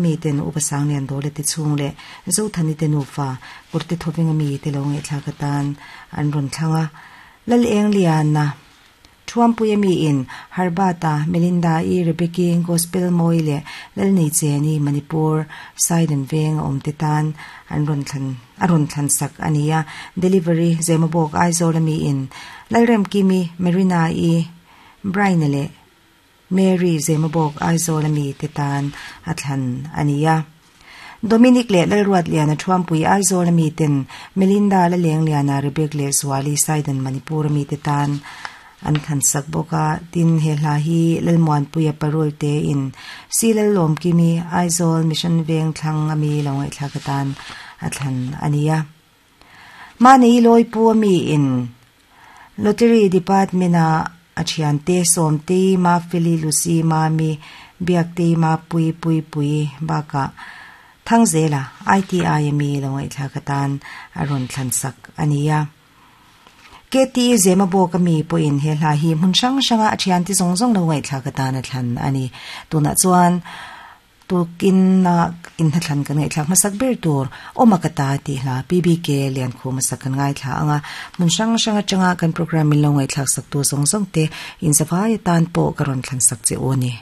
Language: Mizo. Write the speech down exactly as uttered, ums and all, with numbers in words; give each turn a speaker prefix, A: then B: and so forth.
A: mi ten upa sang lian dole te chung le zo thani te nu fa kurte thoving mi te lo ngai thla ka tan an ron thlanga lal eng lian na thuam puya mi in harbata Melinda e Rebecca gospel moile lal nei cheni Manipur Saidan veng om te tan an ron thlan aron thlan sak ania delivery zemabok Aizawl mi in lalrem kimi Marina e Brainele Mary zemabok Aizawl mi te tan athlan ania Dominic le lalruat liana thuampui Aizawl mi ten Melinda la leng liana Rebecca le Swali Saidan Manipur mi te tan an khan sak boka tin he hla hi lalmuan puya parol te in silal lom kimi Aizawl Mission Veng thlang ami longai thla ka tan athlan ania mani loi pu ami in lottery department a achian te som te ma fili lucy ma mi biak te ma pui pui pui baka thangzela I T I mi longai thla ka tan aron thlan sak ania K T zema bo kami po in he hla hi mun sang sanga athian ti zong zong lo ngai thla ka ta na thlan ani tuna chuan tukin na in thlan kan ngai thlak masak ber tur omakata ti hla P B K lian khu masak kan ngai thla anga mun sang sanga changa kan program min lo ngai thlak sak tu zong zong te in zawai tan po karon thlan sak che oni.